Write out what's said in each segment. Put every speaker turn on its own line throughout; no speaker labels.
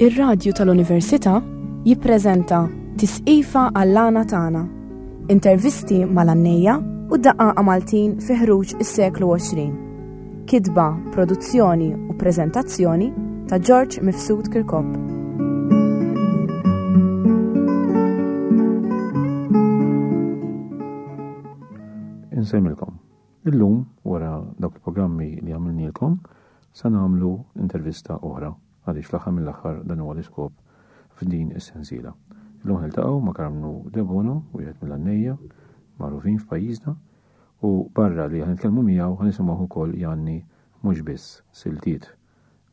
Ir-Radju tal-Università jippreżenta Tisqifa għall-għana tagħna. Intervisti mal-għannejja u daqqaqa Maltin fi ħruġ is-seklu 20. Kitba, produzzjoni u preżentazzjoni ta' George Mifsud Kirkop.
Insemmilkom. Illum, wara dawk il-programmi li għamilnielkom, se nagħmlu intervista oħra għaliex fl-aħħar mill-aħħar dan huwa l-iskop f'din is-sensiela. Illum niltaqgħu ma' Karmnu Debono, wieħed mill-għannejja magħrufin f'pajjiżna, u barra li ħanitkellmu miegħu ħanisimgħu ukoll jgħanni mhux biss siltiet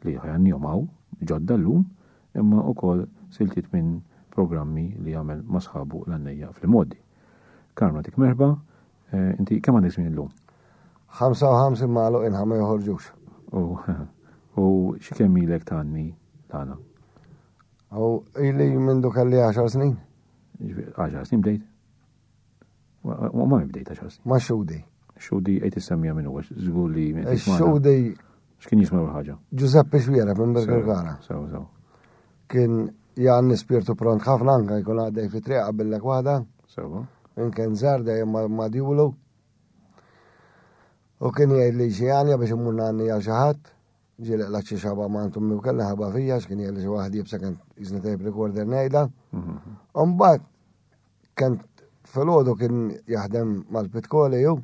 li ħajannihom hawn ġodda llum, imma wkoll siltiet minn programmi li jagħmel ma' sħabu l-għannejja fl-imgħoddi. Karmnu nagħtik merħba, Eh, inti kemm għandek żmien illum?
55 magħluq inħa ma joħorġux.
U xi kemm ilek tgħanni tagħna?
U ili mindu kelli 10 snin.
10 snin bdejt? U ma bdejt 10 snin.
Ma xudi.
Xudi qed issemmija minn huwa żgur li
Xudi
X'kien jisma' l ħaġa?
Giuseppe Xwiera minn Birkirkara.
Sew, sew.
Kien jgħanni spirtu pront ħafna anka jkun għaddej fi triq qabillek waħda.
Sewa.
Inkien żgħar dejjem ma' djulu. U kien jgħid li xi għanja biex immur ngħanni għal xi ħadd. Ġieli qlgħat xi xaba ma' għand ommi u kellha ħaba fija x'kien jgħid li xi waħd jibsa kien jiżni tape recorder ngħidha. Mhm. U mbagħad kien filgħodu kien jaħdem mal-Pitkoli ju.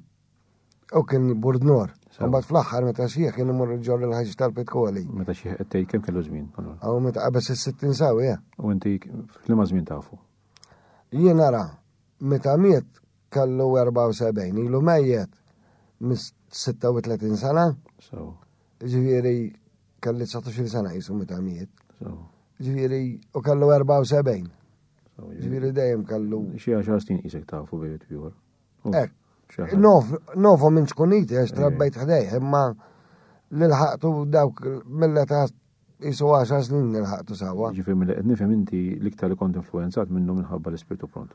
U kien burdnor. Mbagħad fl-aħħar meta xieħ kien imur ġorr il-ħaġ tal-Pitkoli.
Meta xieħ qed tgħid kemm kellu żmien?
Aw meta qabeż is-60 sawi, eh.
U inti f'liema żmien tafu?
Jien nara, meta miet kellu 74, ilu mejjet mis 36 sena.
So.
Ġifieri kelli 19 sena jisu meta miet. So. Ġifieri u kellu 74. Ġifieri dejjem kellu.
Xi għaxar snin qisek tafu bejn ieħor.
Ek. Nof, nofu minn ċkuniti għax trabbejt ħdejh, imma l-ħaqtu dawk mill-età jisu 10 snin nilħaqtu sawa.
Ġifieri mill qed nifhem inti l-iktar li kont influenzat minnu minħabba l-ispirtu pront.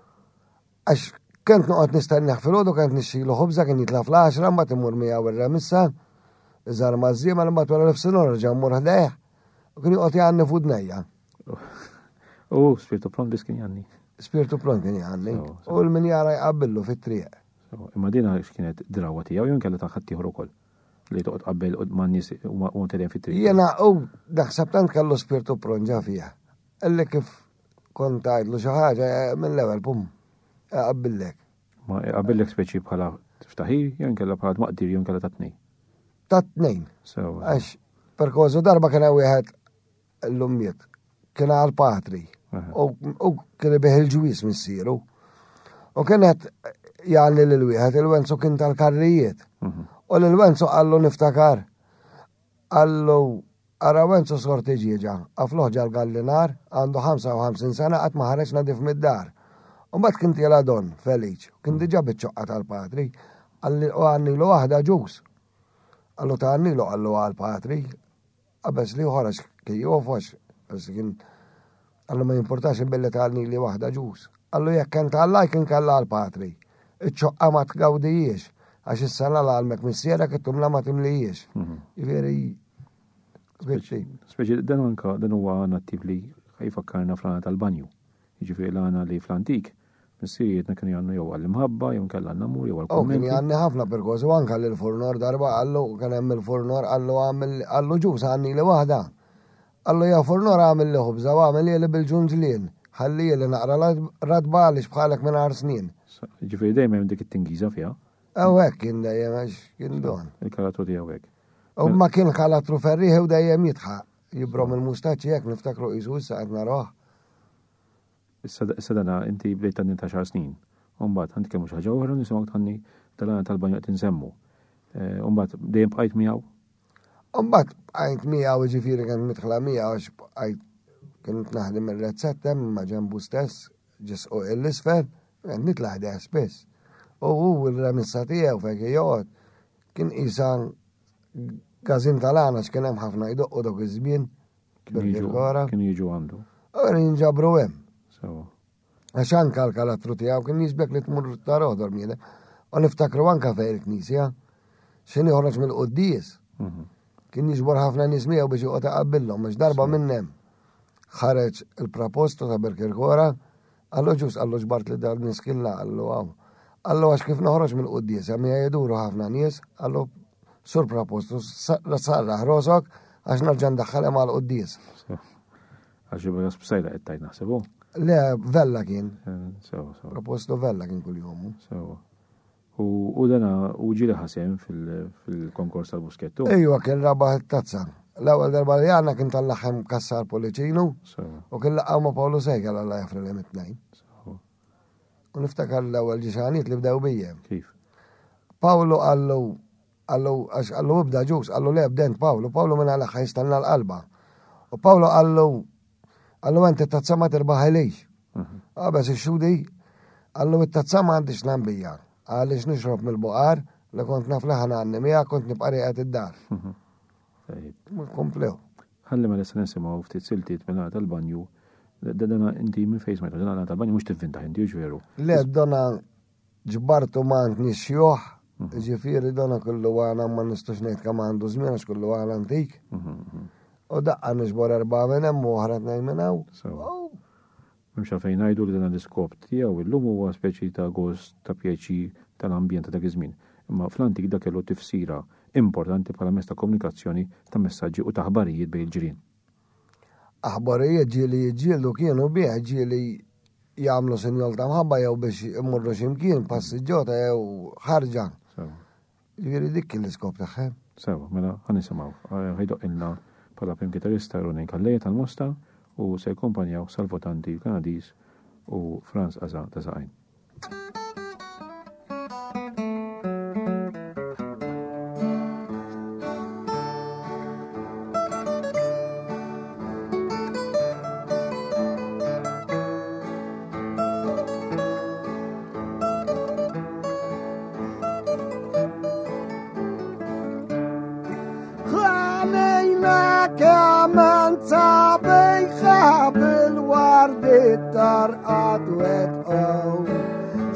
Għax kent noqgħod nistenneħ filgħodu kent nixxilu ħobża kien jitla' fl-10 mbagħad imur miegħu ir-remissa, iżgħar maż-żiema mbagħad wara nofsinhar nerġa' mmur ħdejh u kien joqgħod jgħanni f'udnejja.
U spirtu pront biss kien jgħanni.
Spirtu pront kien jgħanni. U l-min jara jqabbillu fit-triq.
Imma dina x'kienet drawa tiegħu jew inkella ta' ħaddieħor ukoll li toqgħod qabel ma' nies u telgħin fit-triq.
Jiena u naħseb tant kellu spirtu pront ġa fih. Illi kif kont għidlu xi ħaġa eh, mill-ewwel pum qabillek.
Ma qabillek speċi bħala tiftaħir jew inkella bħala tmaqdir jew inkella ta' tnejn.
Ta' tnejn. Għax perkożu darba kien hemm wieħed Illum miet. Kien għal patri. U kien ibih il-ġwis missieru. U kienet jgħalli lil wieħed il-Wenzu kien tal-karrijiet. Mhm. U lil Wenzu qallu niftakar. Qallu ara Wenzu sorti ġieġa, għafluħ ġal-gallinar, għandu 55 sena qatt ma ħareġ nadif mid-dar. U mbagħad kien tiela Don Feliċ, kien mhm. diġà biċ-ċoqqa tal-patri, u għannilu waħda ġus. Qallu ta' għannilu qallu għal patri, Qabeż li ieħor għax kien jofox, għax kien qallu ma jimpurtax billi tgħalni li waħda ġus. Qallu jekk kien tgħallaj kien kellha għal patri. Iċ-ċoqqa ma tgawdijiex għax is-sena l-għalmek missierek it-tumla ma timlijiex. Mhm. Jiġifieri
speċi. Speċi dan anka dan huwa nattiv li jfakkarna fl-għana tal-banju. Jiġifieri l-għana li fl-antik Missirijietna kienu jgħannu jew għall-imħabba, jew nkella għall-namur, jew
għall-kummenti. Kien jgħanni ħafna perkoż, u anka l-furnor darba qallu, kien hemm il-furnor qallu għamil qallu ġus għanni li waħda. Qallu ja furnor għamil li ħobża u għamil li bil-ġunġlien, ħalli li naqra radba għaliex bħalek minn għar snin.
Ġifieri dejjem hemm dik it-tingiża fiha.
Ew hekk kien dejjem għax kien don.
Il-karattru tiegħu hekk.
U ma kien karattru ferrieħ u dejjem jidħaq. Jibrom il-mustaċċi hekk niftakru qisu issa qed naroh.
Issa dana inti bdejt tgħanni ta' xar snin. U mbagħad ħa nitkellmu xi ħaġa oħra nisimgħuk tgħanni tal-għana tal-banju qed insemmu. Eh, u mbagħad dejjem bqajt miegħu.
U mbagħad bqajt miegħu ġifieri kien midħla miegħu għax bqajt kien naħdem ir-rezzetta ma' ġenbu stess ġisqu l-isfel, nitla' ħdejh spiss. U hu l-remissa tiegħu fejn joqgħod kien qisha gazin tal-għana x'kien hemm ħafna jdoqqu dok iż-żmien.
Kienu jiġu għandu.
Għara jinġabru hemm. Għax anka l-karattru tiegħu kien jisbek li tmur tarodor miele. U niftakru anka fejn il-knisja. X'in joħroġ mill-quddies. Mhm. Kien jiġbor ħafna nies miegħu biex joqgħod iqabbilhom, għax darba minn hemm. Ħareġ il-prapostu ta' Birkirkora, qallu ġus, qallu ġbart li dan nies killa, qallu hawn. Qallu għax kif noħroġ mill-quddiesa miegħi jduru ħafna nies, qallu sur prapostu sarraħ rosok għax nerġa' ndaħħalhom għall-quddies.
Għax jibqa' spsajla qed tgħid naħseb hu.
Le, Vella kien. Eh, sewa, sewa. Propostu Vella kien kuljum.
Sewa. U dana u ġieli ħasem fil-konkors tal-Buskettu.
Ejwa kien rabaħ it-tazza. L-ewwel darba li għandna kien tal-laħem kassar Policinu u kien laqgħu ma' Paolo Sejkel alla jafri li mit-tnejn. U niftakar l-ewwel ġixaniet li bdew bija.
Kif?
Paolo qallu qallu għax qallu ibda ġus, qallu le bdent Paolo, Paolo minn għal jistanna l-qalba. U Paolo qallu Qallu inti t-tazza ma tirbaħilix. Mhm. Qabeż ix-xudi, qallu it-tazza ma għandix nambija, għaliex nixrob mill-buqar li kont naf li ħana miegħek kont nibqa' rieqed id-dar. Mhm. Komplew.
Ħalli ma nista' nisimgħu ftit siltiet minn tal-banju. Dana inti minn fejn smajtu, dana tal-banju mhux tivvinta inti veru.
Le, dona Ġbartu m'għand nies xjuħ, ġifieri dona kullu għana ma nistax ngħid kemm għandu żmien għax kullu għana antik. U daqqa niġbor erbgħa minn hemm u oħra tnejn minn hawn.
M'hemmx għalfejn ngħidu li dan l-iskop tiegħu illum huwa speċi ta' gost ta' pjaċir tal-ambjent ta' dak iż-żmien. Imma fl-antik dak kellu tifsira importanti bħala mezz ta' komunikazzjoni ta' messaġġi u ta' aħbarijiet bejn il-ġirien.
Aħbarijiet ġieli jiġġieldu kienu bih, ġieli jagħmlu sinjol ta' mħabba jew biex imorru x'imkien, passiġġota jew ħarġa. Ġifieri dik kien l-iskop tagħha.
Sewa, mela ħa nisimgħu. Ħajdoq ilna bħala prim kitarista Ronin Calleja tal-Mosta u se jkompanjaw Salvo Tanti l-Kanadiż u Franz Aza ta' Saqajn.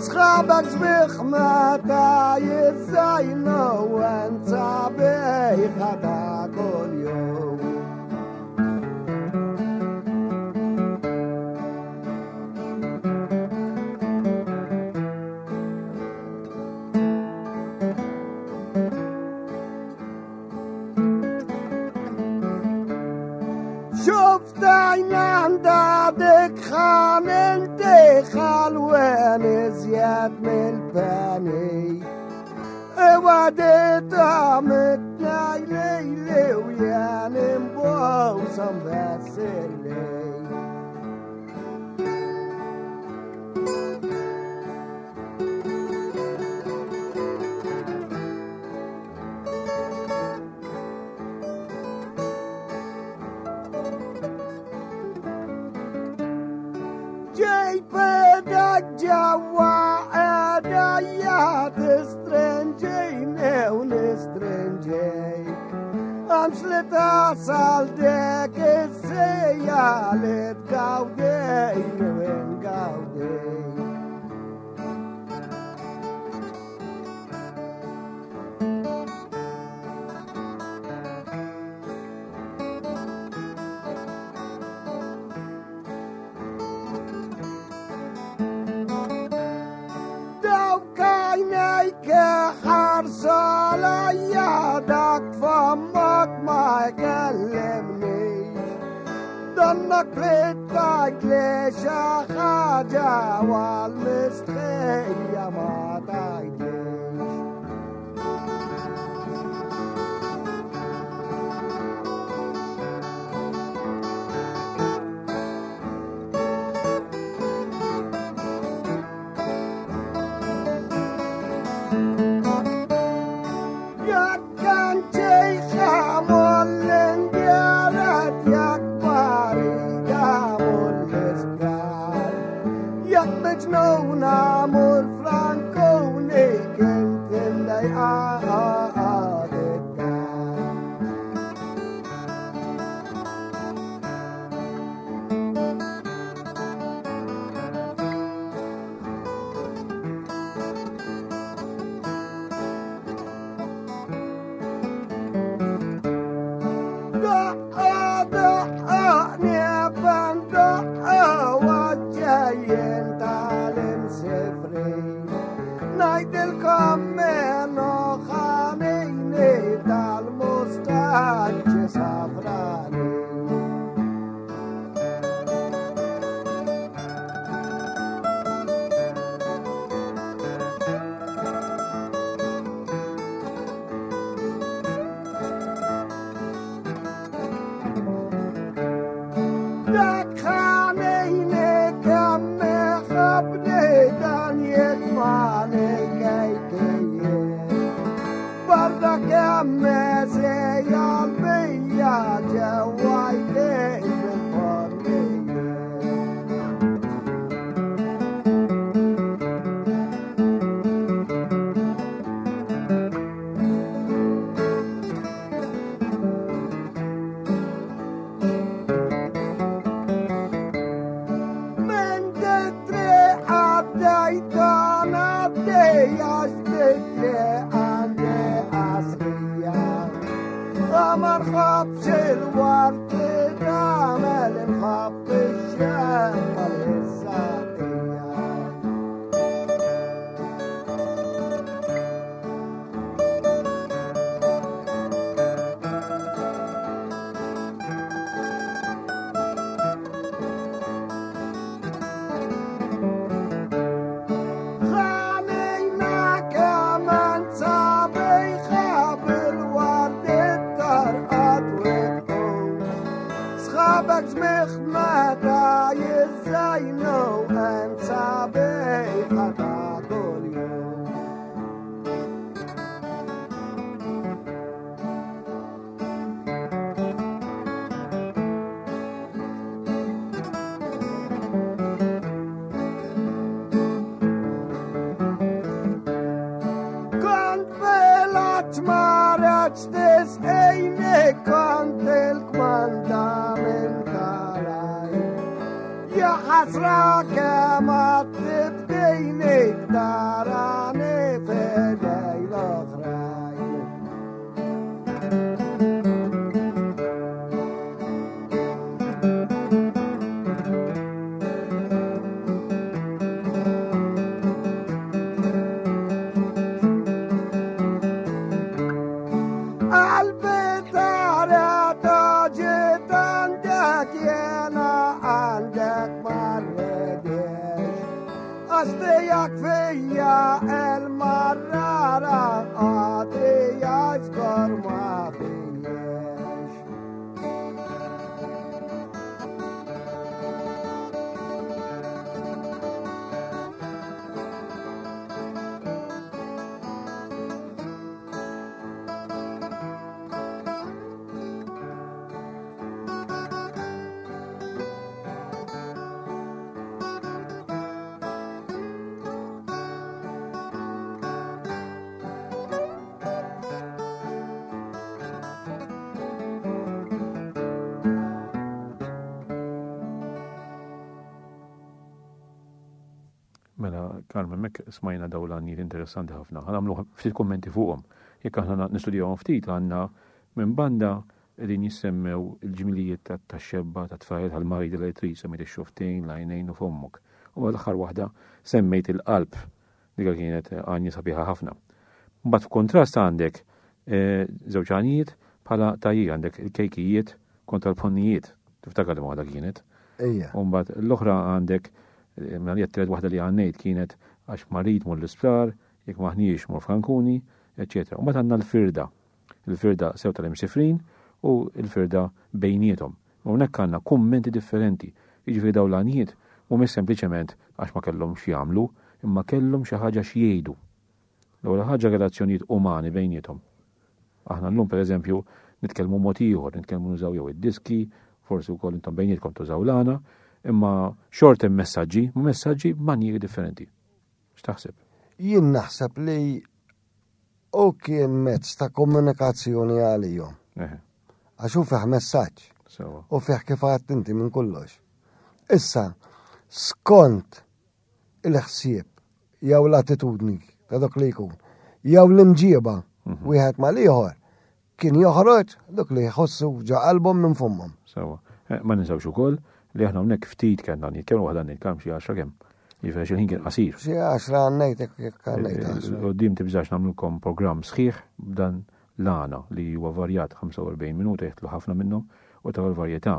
Sħabek sbieħ meta jizzajnu u sabiħa ta' kuljum. شفت عينان دادك خاننتي خلوان زياد من الباني وديت عمتنا ليلي ويا نبوسم بس الليل ġejpedek ġewwa għedajja tistrinġini u nistrinġejk. Għamx li tasal dek is-sija li tgawdejni u ngawdejk. Dawk għajnejk ħarsu għalija dak fomok ma jkellimnix. Donnak blit li xi ħaġa għal-mistħija ma tgħidlix. kemm għal-bija ġewwa jdejk fil-ponnijiet.
Mela, Carmen, mek smajna daw l-għanijiet interessanti ħafna. Ħa nagħmlu ftit kummenti fuqhom. Jekk aħna nistudjawhom ftit għandna minn banda qegħdin jissemmew il-ġmilijiet tax-xebba, tat-tfajjel, tal-marid li trid, semmejt ix-xuftejn, l-għajnejn u fommok. U l-aħħar waħda semmejt il-qalb. Dik kienet għanja sabiħa ħafna. Mbagħad f'kontrast għandek eh, żewġ għanijiet bħala tajjir għandek il-kejkijiet kontra l-ponnijiet. Tiftakar li waħda kienet.
Ejja.
U mbagħad l-oħra għandek eh, mela li tielet waħda li għannejt kienet għax marid mur l-isptar, jekk maħniex mur f'Kankuni, eċetera. U mbagħad għandna l-firda. Il-firda sew tal-imsifrin u l-firda bejniethom. U hawnhekk għandna kummenti differenti. Jiġifieri dawn l-għanijiet mhumiex sempliċement għax ma kellhomx x'jagħmlu, imma kellhom xi ħaġa x'jgħidu. L-ewwel ħaġa relazzjonijiet umani bejniethom. Aħna llum pereżempju nitkellmu mod ieħor, nitkellmu nużaw jew id-diski, forsi wkoll intom bejnietkom tużaw l-għana, imma xort hemm messaġġi, messaġġi b'manjieri differenti. X'taħseb?
Jien naħseb li U kien mezz ta' komunikazzjoni għalihom. Għax hu fih messaġġ. U fih kif għadt inti minn kollox. Issa, skont il-ħsieb jew l-attitudni ta' dak li jkun, jew l-imġieba mhm. wieħed mal-ieħor, Kien joħroġ dak li jħossu ġo qalbhom minn fommhom.
Sewwa. Eh, ma ninsewx ukoll li aħna hawnhekk ftit kellna nitkellmu waħda nitkellmu xi għaxra kemm. Jiġifieri xi ħin kien qasir.
Xi għaxra għannejt jekk għannejt eh, għaxra.
Qudiem tibżax nagħmlulkom programm sħiħ b'dan l-għana li huwa varjat 45 minuta jeħtlu ħafna minnhom u ta' l-varjetà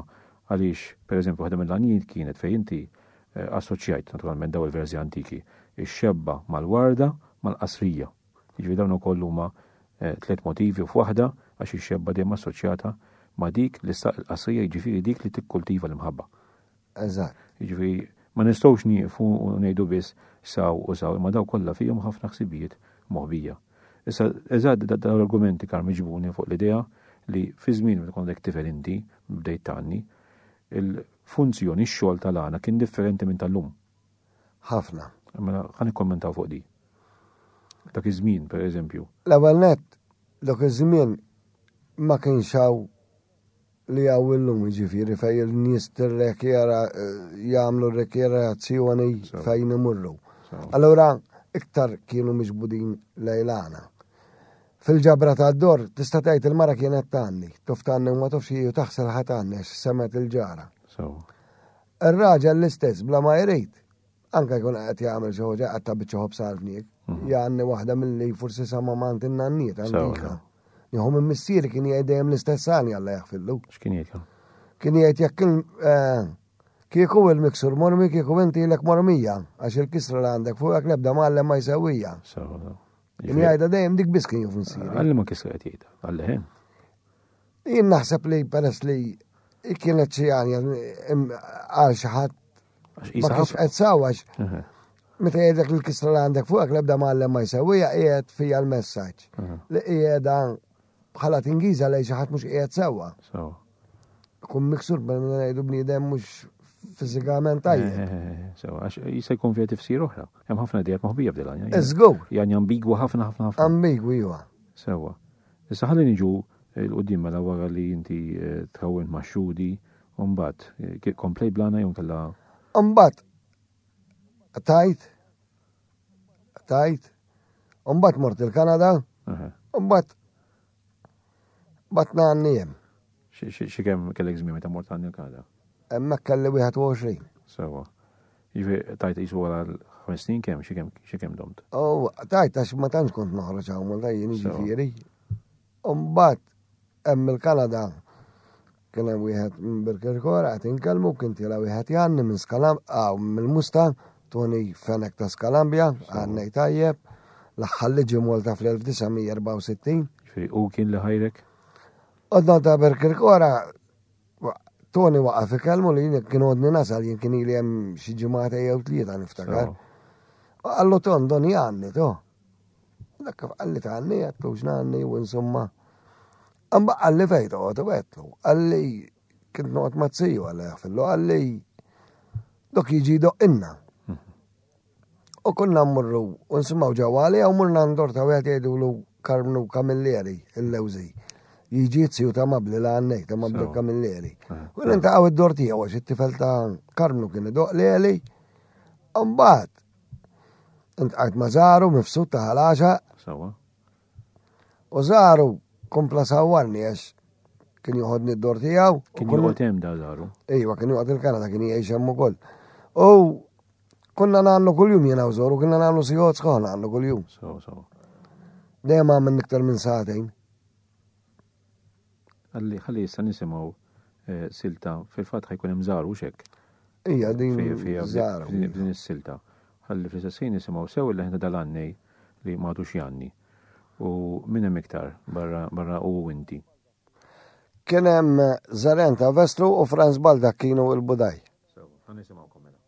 għaliex pereżempju waħda mill-għanijiet kienet fejn inti eh, assoċjajt naturalment daw il-versi antiki ix-xebba mal-warda mal-qasrija. Jiġifieri dawn ukoll huma eh, tliet motivi f'waħda għax ix-xebba dejjem assoċjata ma' dik li saq il-qasrija jiġifieri dik li tikkultiva l-imħabba.
Eżatt.
Jiġifieri ma nistgħux nieqfu u ngħidu biss saw u saw, imma daw kollha fihom ħafna ħsibijiet moħbija. Issa, eżatt dawn l-argumenti Karm iġibuni fuq l-idea li fi żmien meta kont għadek tifel inti, bdejt tgħanni, il-funzjoni, x-xogħol tal-għana kien differenti minn tal-lum.
Ħafna.
Mela ħa nikkommentaw fuq di. Dak iż-żmien, per eżempju.
L-ewwel nett, dak iż-żmien ma kienx hawn li hawn illum, jiġifieri fejn il-nies tirrekjera jagħmlu rekjerazzjoni fejn imurru. Allura iktar kienu miġbudin lejlana. Fil-ġabra ta' dor tista' tgħid il-mara kienet tgħanni, tuf tgħanni u ma tafx hi u taħsel ħa tgħanni għax semgħet il-ġara. Ir-raġel l-istess bla ma jrid, anke jkun qed jagħmel xi ħaġa qatta' biċċa ħobż għal fniek, jgħanni waħda milli forsi sama m'għand in-nanniet antika. Nieħu minn missieri kien jgħid dejjem l-istess għani Alla jaħfillu.
X'kien jgħid?
Kien jgħid jekk eh, kieku il-miksur mormi kieku inti lek mormija għax il-kisra li għandek fuqek l-ebda mgħallem ma jsewwija. Kien jgħidha dejjem dik biss kien juf missieri.
Għalli ma kisra qed jgħidha, għalli ħin.
Jien naħseb li peress li kienet xi għanja għal xi ħadd ma kienx qed sawax. Meta jgħidlek li l-kisra li għandek fuqek l-ebda mgħallem ma jsewwija qiegħed fija l-messaġġ li qiegħda bħala tingiża lejn xi ħadd mhux qiegħed sewwa. Kun miksur bħal ngħidu bniedem mhux fiżikament tajjeb.
Sewa, għax jista' jkun fiha tifsir oħra. Hemm ħafna idejat moħbija f'dil għanja.
Żgur.
Jgħanja ambigwa ħafna ħafna ħafna.
Ambigwi huwa.
Sewa. Issa ħalli niġu 'l quddiem mela wara li inti trawwimt ma' Xudi u mbagħad eh, komplejt blana jew inkella.
Mbagħad tajt tajt u mbagħad mort il-Kanada u mbagħad batna għanni hemm.
Xi kemm kellek żmien meta mort għandi l-Kanada?
Hemmhekk kelli 21.
Sewa. Jiġifieri tajt qisu wara ħames snin kemm xi kemm xi kemm domt?
Oh, tajt għax ma tantx kont noħroġ hawn Malta jien jiġifieri. U mbagħad hemm il-Kanada kien hemm wieħed minn Birkirkora qed inkellmu kien tiela wieħed jgħanni minn Skalam mill-Musta Tony Fenek ta' Skalambja, għannej tajjeb, l-aħħar li ġie Malta fl-1964.
Ġifieri u kien li ħajrek?
Għodna ta' Birkirkora Tony waqaf ikellmu li jien kien għodni nasal jien kien ili hemm xi ġimgħata jew tlieta niftakar. Qallu Ton Doni għanni to. Dak kif qalli ta' għanni għedtlu x'ngħanni u insomma. Amba qalli fejn toqgħod u għedtlu. Qalli kint noqgħod ma' ziju għalla jaħfillu qalli dok jiġi doqqinna. U konna mmurru u nsimgħu ġewwa għalija u morna ndor ta' wieħed jgħidulu Karmnu Camilleri, il-Lewżi. Jiġi ziju ta' Mabli la għannej, ta' Mabli Camilleri. Ah, u nintaqgħu id-dor tiegħu għax it-tifel ta' Karmnu kien idoq leli. Mbagħad intqajt ma' Żaru mifsud ta' ħalaxa.
Sawa.
U Żaru kompla sawwarni għax kien joħodni d-dor tiegħu.
Kien joqgħod hemm da Żaru.
Ejwa, kien joqgħod il-Kanada kien jgħix hemm ukoll. U Konna nagħmlu kuljum jiena u Zoru, konna nagħmlu sigħot sħaħ nagħmlu kuljum.
So, so.
Dejjem għamil iktar minn sagħtejn.
Għalli ħalli issa nisimgħu eh, silta fil-fatt ħajkun hemm żaru xek.
Ija din żaru.
F'din is-silta. Ħalli fl-istess ħin nisimgħu sew il-leħna dal-għannej li m'għadux jgħanni. U min hemm iktar barra barra u inti.
Kien hemm Zaren ta' Vestru u Franz Baldak kienu il-Budaj.
So, ħa nisimgħukom mela.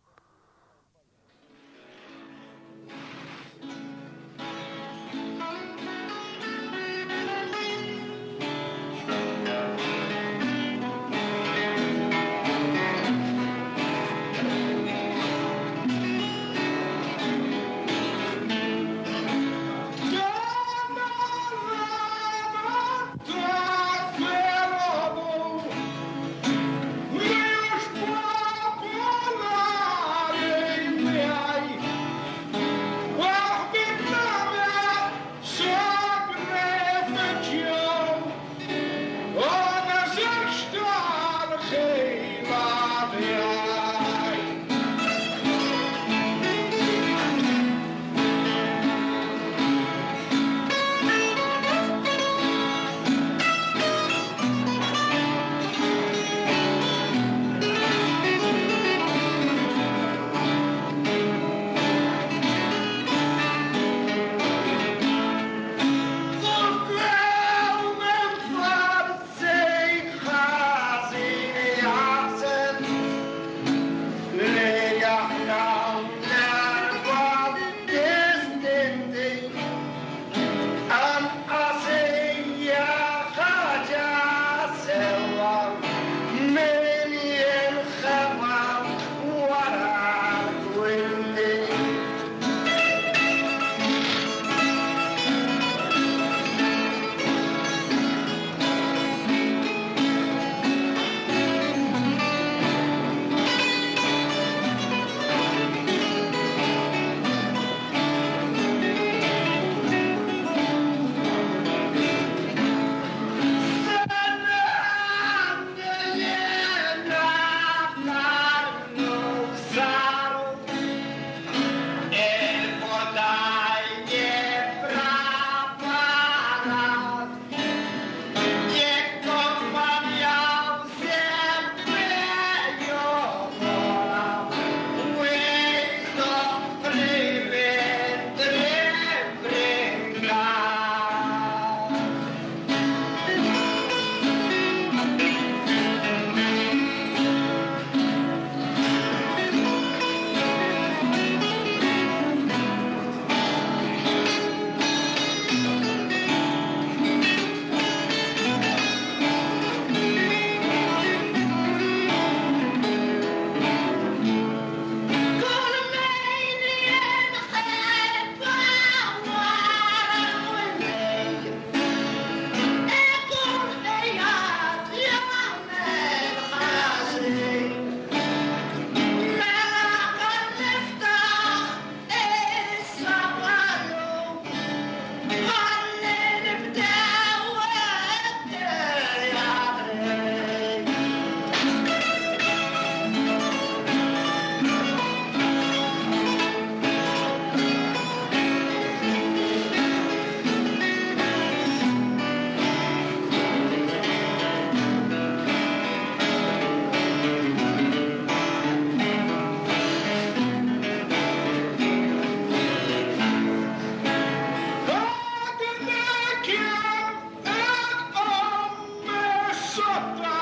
Ġotta.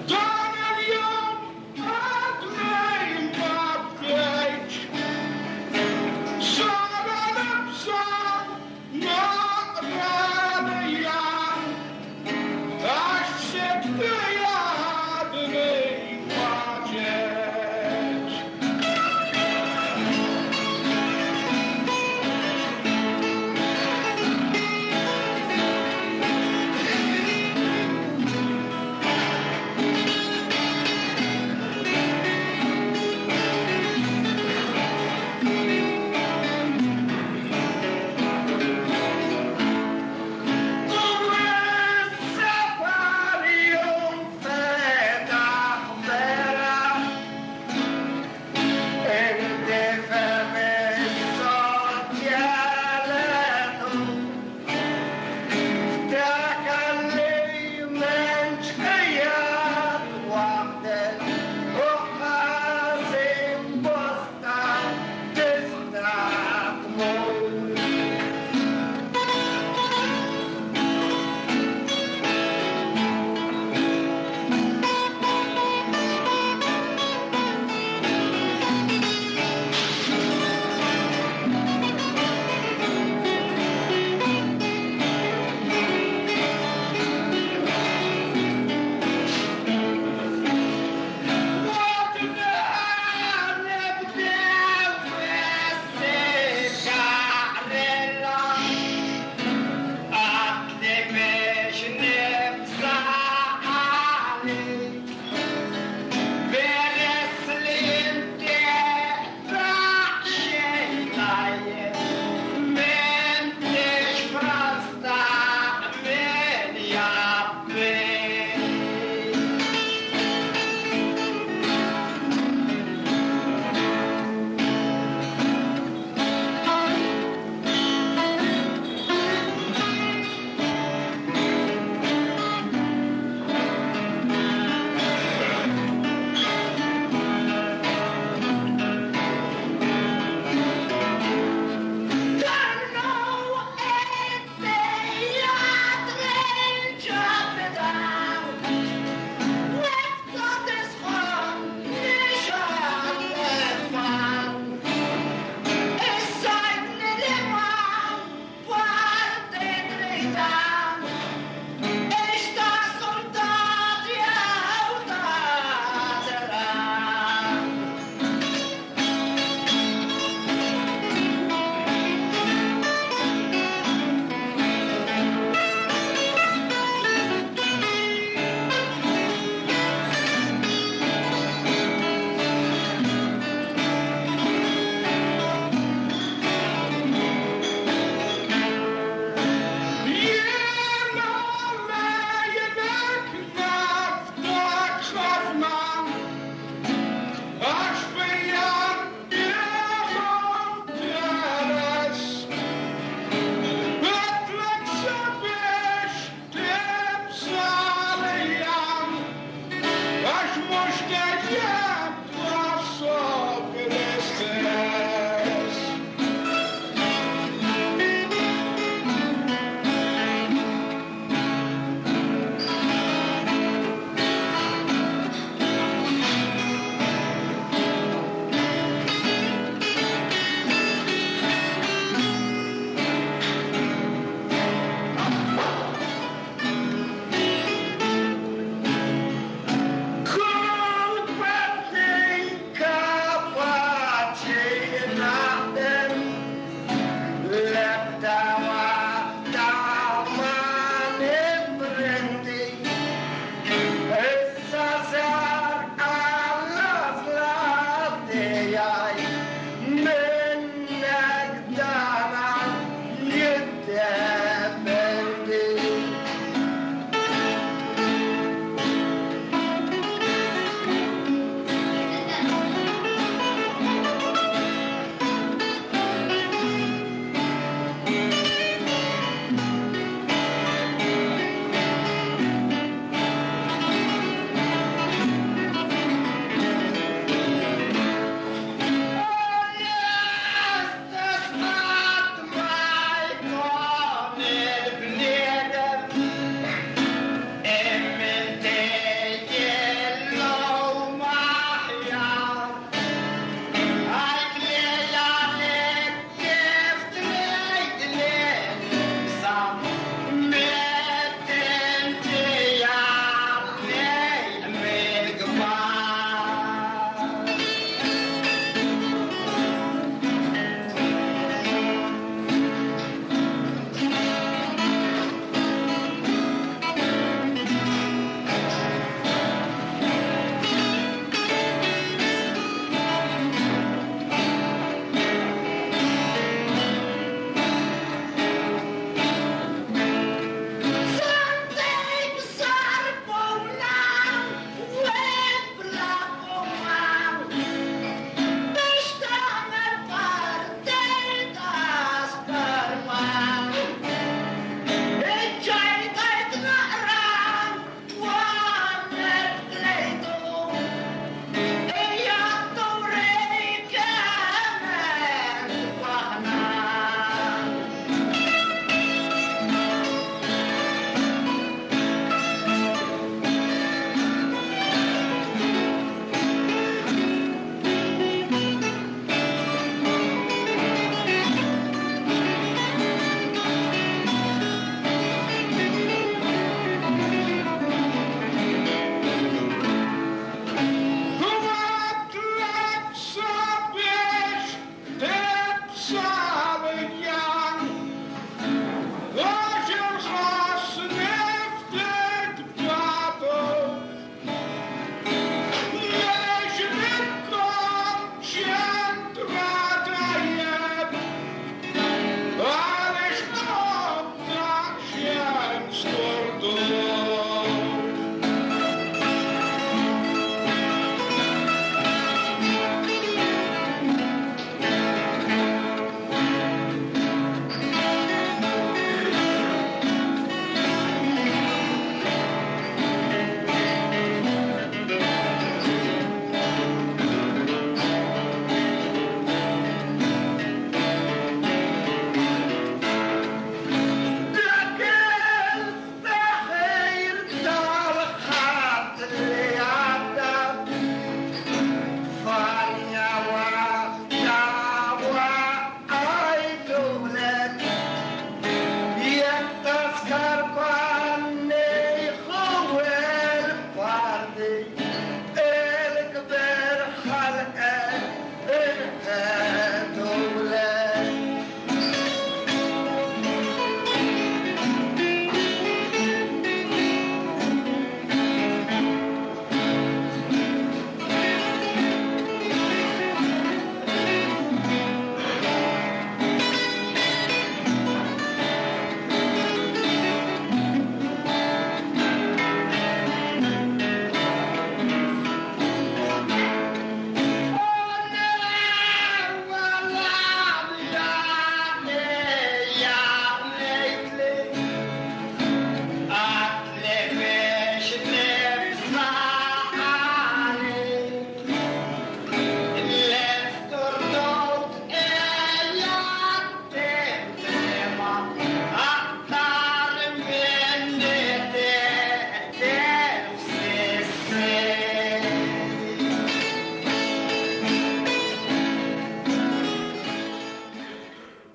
Dan il-jum għadni ma bkejtx. Sara nibsa naqra għax ħsibt li għadni ma ġejtx.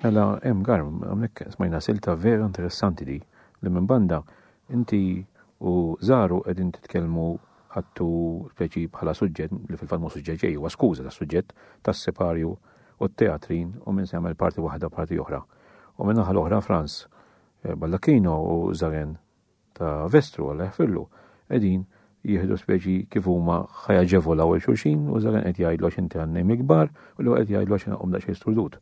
Mela, hemm garm, hawnhekk smajna silta vera interessanti di li minn banda inti u Zaru qegħdin titkellmu ħadtu speċi bħala suġġett li fil-fatt mhu suġġett ġej huwa skuża tas-suġġett tas-separju u t-teatrin u minn se jagħmel parti waħda parti oħra. U minn naħa l-oħra Franz eh, Baldacchino u Zaren ta' Vestru Alla jaħfirlu qegħdin jieħdu speċi kif huma ħajaġevolaw il xulxin u Zaren qed jgħidlu għax inti għannej mikbar u l qed jgħidlu għax inqom daqsxejn sturdut.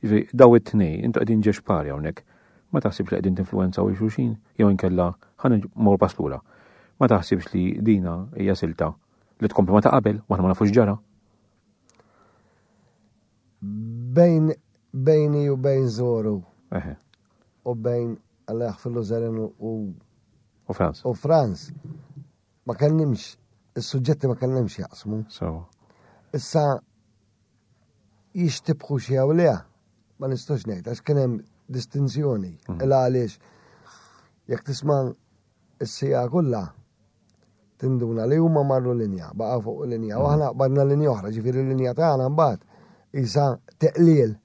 Jiġifieri daw it-tnej intu qegħdin ġex pari hawnhekk. Ma taħsibx li qegħdin tinfluwenzaw il xulxin jew inkella ħa mmur pass lura. Ma taħsibx li dina hija silta li tkompli ma ta' qabel u aħna ma nafux ġara?
Bejn bejni u bejn Zoru. U bejn Alla jaħfirlu Zeren u
U Franz.
U Franz. Ma kellimx, is-suġġetti ma kellhomx jaqsmu.
So.
Issa jixtibħu xi jew le, ma nistax ngħid għax kien hemm distinzjoni. Illa għaliex jekk tisma' is-sija kollha tinduna li huma marru linja, baqa' fuq linja, u aħna qbadna linja oħra, ġifieri l-linja tagħna mbagħad isa teqliel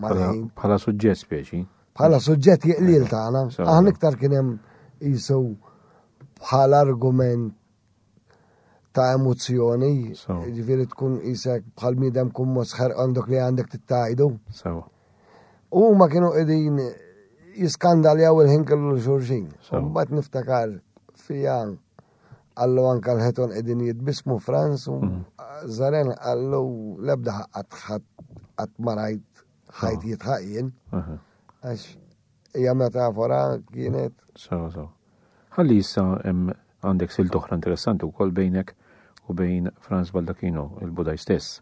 mal-ħin. Bħala suġġett speċi.
Bħala suġġett jeqliel tagħna. Aħna iktar kien hemm jisu bħala argument ta' emozzjoni, ġifieri tkun isek bħal miedem kun mosħer għandok li għandek tittajdu. U ma kienu qegħdin jiskandaljaw il-ħin kellu l-xurxin. Mbagħad niftakar fija Għallu anka l-ħeton qegħdin jitbismu Franz u mm. Zaren għallu lebda qatt ma rajt ħajt jitħaq jien. Għax hija metafora kienet.
Sewa sewa. Ħalli issa għandek silt oħra interessanti wkoll bejnek u bejn Franz Baldacchino, il-Budaj stess.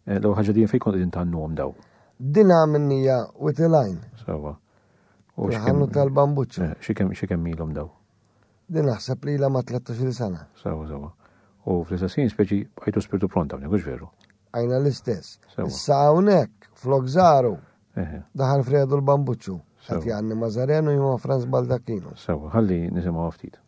Eh, l-ewwel ħaġa din fejn kont qegħdin tgħannuhom daw?
Din għamilnija with a line.
Sewa.
U x'kemm tal-bambuċċa.
Eh, xi kemm ilhom daw?
Din naħseb li ilha ma' 13-il sena.
Sewa, sewa. U fl-istess ħin speċi bqajtu spirtu pront hawnhekk, hux veru?
Għajna l-istess. Issa hawnhekk flok żaru. Daħal Fredu l-Bambuċċu. Qed jgħanni ma' Zarenu jew ma' Franz Baldacchino.
Sewa, ħalli nisimgħu ftit.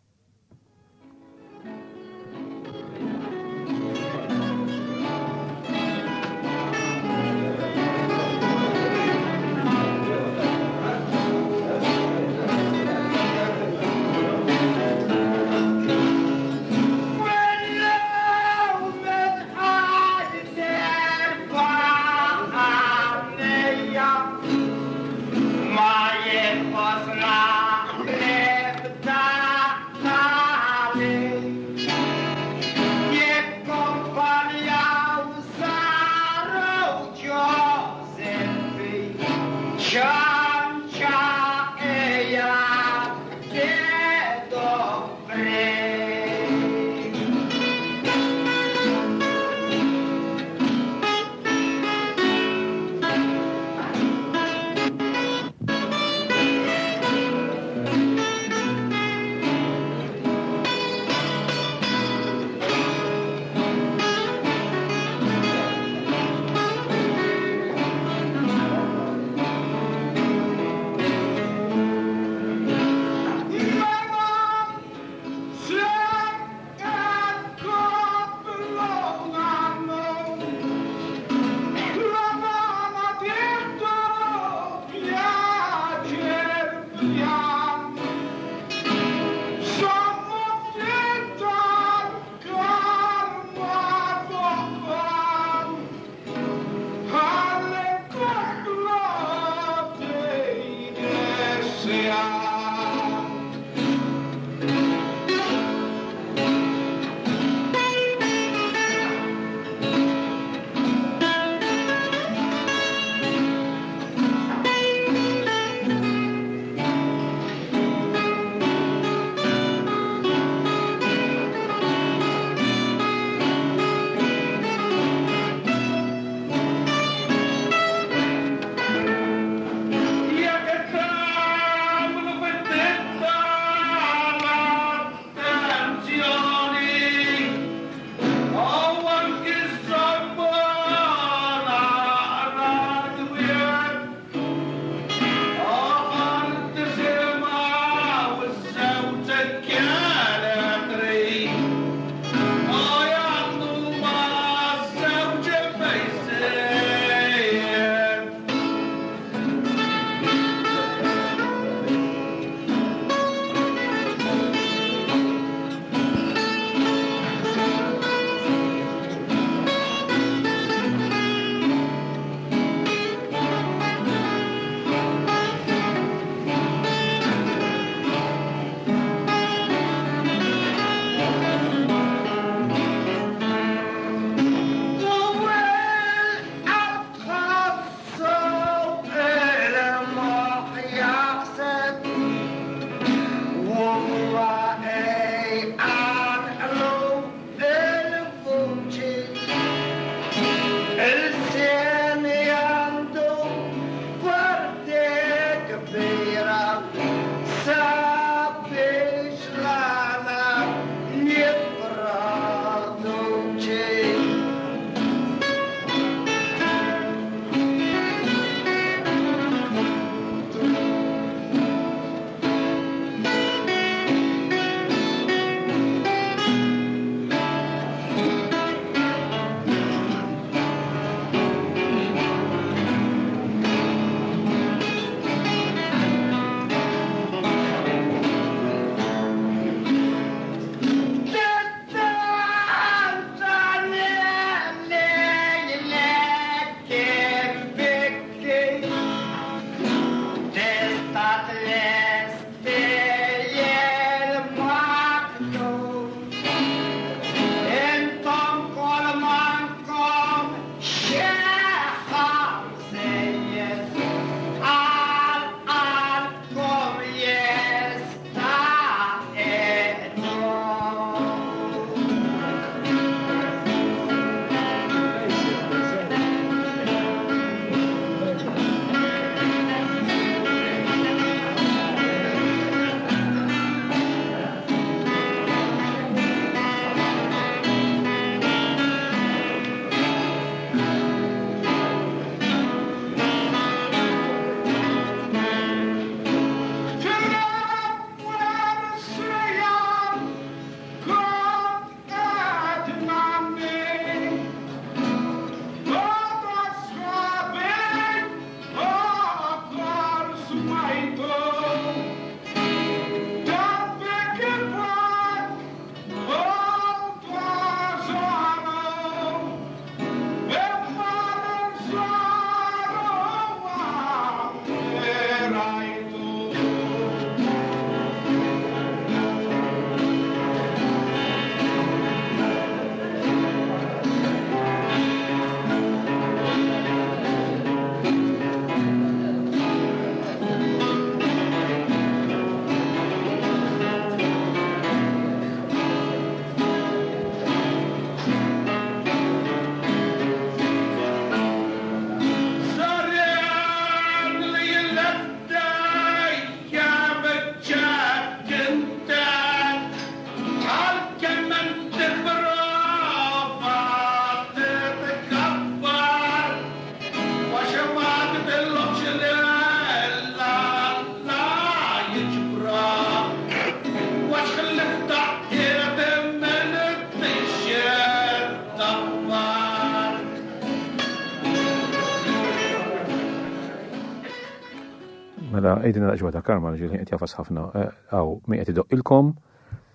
Mela, għidilna daqsxejn ta' Karma li qed jafas ħafna hawn min qed idoqqilkom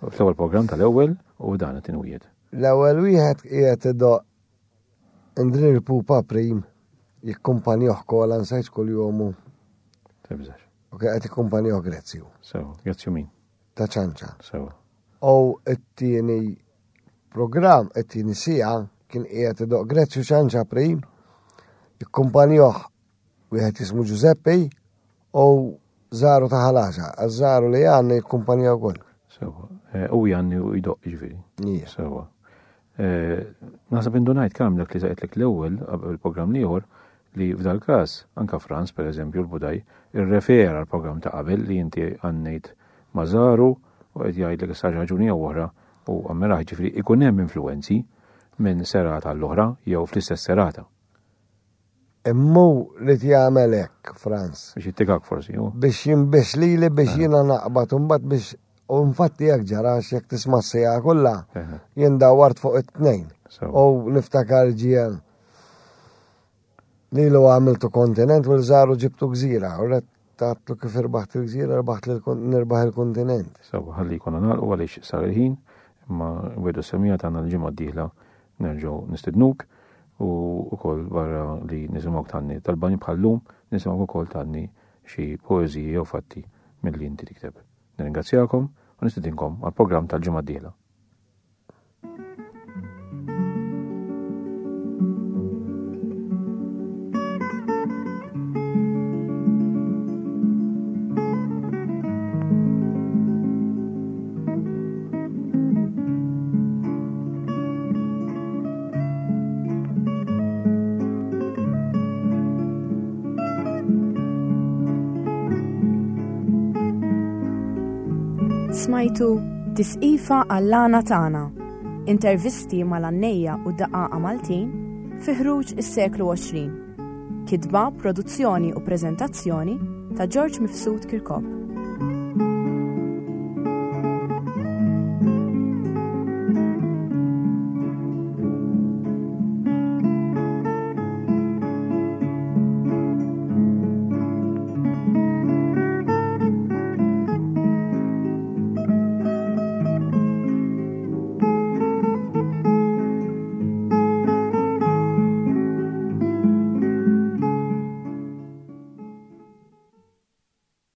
fl-ewwel programm tal-ewwel u dan qed inwiegħed.
L-ewwel wieħed qiegħed idoqq Indrir Pupa Prim jikkumpanjoh kola nsejt kull-jomu.
Tibżax.
U kien qed jikkumpanjoh Grezzju.
Sewa, Grezzju min?
Ta' ċanċa.
Sewa.
U it-tieni programm, it-tieni sija kien qiegħed idoq Grezzju ċanċa Prim jikkumpanjoh wieħed jismu Giuseppe u Żaru ta' ħalaxa, għaż-żaru li għanni jikkumpanjaw wkoll.
Sewa, eh, u jgħanni u jdoq ġifieri. Sewa. Eh, naħseb indunajt kemm dak li saqetlek l-ewwel qabel il-programm l-ieħor li f'dal każ anka Franz pereżempju l-Budaj irrefera l-programm ta' qabel li inti għannejt ma' Żaru u qed jgħidlek issa raġuni jew oħra u għammirah ġifieri ikun hemm influwenzi minn serata l-oħra jew fl-istess serata.
Imma hu ried jagħmel hekk, Franz.
Biex jittikak forsi, hu.
Biex jinbix lili biex jiena naqbad u mbagħad biex u infatti hekk ġara għax jekk tisma' s-siegħa kollha, jien dawwart fuq it-tnejn. U niftakar ġie lilu għamiltu kontinent u l-żaru ġibtu gżira. U ret tatlu kif irbaħt il-gżira, rbaħt nirbaħ il-kontinent.
Sewa, ħalli jkollna nagħlqu għaliex sar il-ħin, imma wedu semija tagħna l-ġimgħa d-dieħla Nerġgħu nistidnuk u wkoll barra li nisimgħuk tgħanni tal-bani bħal-lum, nisimgħuk ukoll tgħanni xi poeżiji jew fatti milli inti tikteb. Nirringrazzjakom u nistidinkom għall-programm tal-ġimgħa d-dieħla.
Smajtu Tisqifa għall-għana tagħna. Intervisti mal-għannejja u daqqaqa Maltin fi ħruġ is-seklu 20. Kitba, produzzjoni u preżentazzjoni ta' George Mifsud Kirkop.